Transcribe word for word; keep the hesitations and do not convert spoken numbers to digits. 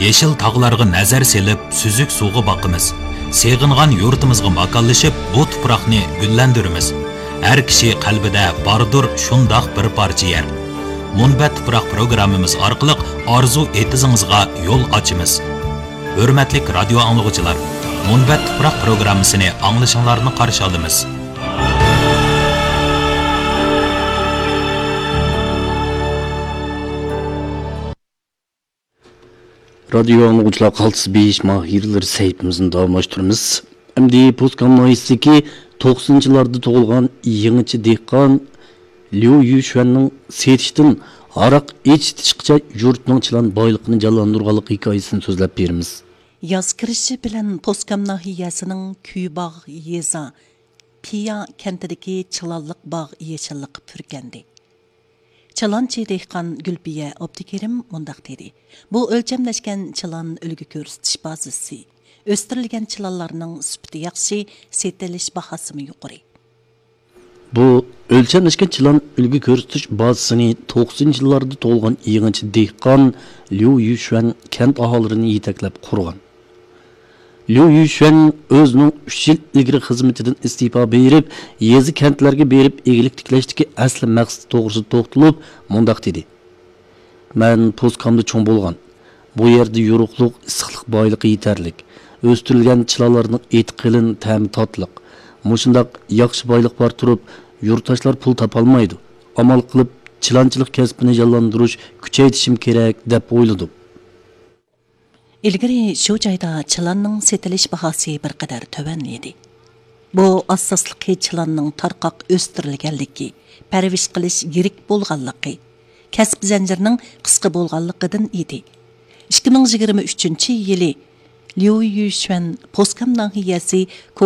يېشىل تاغلارغا نەزەر سېلىپ، سۈزۈك سۇغا باقىمىز. سېغىنغان يۇرتىمىزغا ماكانلىشىپ، بۇ تۇپراقنى گۈللەندۈرىمىز. ھەر كىشى قەلبىدە باردۇر شۇنداق بىر پارچە يەر. مۇنبەت تۇپراق پروگراممىمىز ئارقىلىق ئارزۇ ئېتىزىڭىزغا يول ئاچىمىز. ھۆرمەتلىك رادىيو ئاڭلىغۇچىلار، مۇنبەت تۇپراق پروگراممىسىنى ئاڭلىشىڭلارنى قارشى ئالىمىز. رادىيو ئاڭلىغۇچىلار، قالتىس بېيىش ماھىرلىرى سەھىپىمىزنى داۋاملاشتۇرىمىز. ئەمدى پوسكام ناھىيەسىدىكى توقسىنىنچى يىللاردا تۇغۇلغان يېڭىچە دېھقان ليۇ يۈشۈەننىڭ سېتىشتىن ھاراق ئېچىتىشقىچە يۇرتنىڭ چىلان بايلىقىنى جانلاندۇرغانلىق ھېكايىسىنى سۆزلەپ بېرىمىز. ياز كىرىشى بىلەن پوسكام ناھىيەسىنىڭ كۈيباغ يېزا پىيا كەنتىدىكى چىلانلىق باغ يېشىللىققا پۈركەندى. چىلانچى دېھقان گۈلپىيە ئابدۇكېرىم مۇنداق دېدى: بۇ ئۆلچەملەشكەن چىلان ئۈلگە كۆرسىتىش بازىسى. ئۆستۈرۈلگەن چىلانلارنىڭ سۈپىتى ياخشى، سېتىلىش باھاسىمۇ يۇقىرى. بۇ ئۆلچەملەشكەن چىلان ئۈلگە كۆرسىتىش بازىسىنى توقسىنىنچى يىللاردا تۇغۇلغان يېڭىچە دېھقان ليۇ يۈشۈەن كەنت ئاھالىلىرىنى يېتەكلەپ قۇرغان. ليۇ يۈشۈەن ئۆزىنىڭ ئۈچ يىل ئىلگىرى خىزمىتىدىن ئىستېپا بېرىپ، يېزا كەنتلەرگە بېرىپ ئىگىلىك تىكلەشتىكى ئەسلى مەقسىتى توغرىسىدا توختىلىپ، مۇنداق دېدى: مەن پوسكامدا چوڭ بولغان. بۇ يەردە يورۇقلۇق، ئىسسىقلىق بايلىقى يېتەرلىك. ئۆستۈرۈلگەن چىلانلارنىڭ ئېتى قېلىن، تەمى تاتلىق. مۇشۇنداق ياخشى بايلىق بار تۇرۇپ، يۇرتداشلار پۇل تاپالمايدۇ. ئامال قىلىپ، چىلانچىلىق كەسپىنى جانلاندۇرۇش، كۈچەيتىشىم كېرەك، دەپ ئويلىدىم. ئىلگىرى شۇ جايدا چىلاننىڭ سېتىلىش باھاسى بىر قەدەر تۆۋەن ئىدى. بۇ ئاساسلىقى چىلاننىڭ تارقاق ئۆستۈرۈلگەنلىكى، پەرۋىش قىلىش يىرىك بولغانلىقى، كەسىپ زەنجىرىنىڭ قىسقا بولغانلىقىدىن ئىدى. ئىككى مىڭ يىگىرمە ئۈچىنچى يىلى ليۇ يۈشۈەن پوسكام ناھىيەسى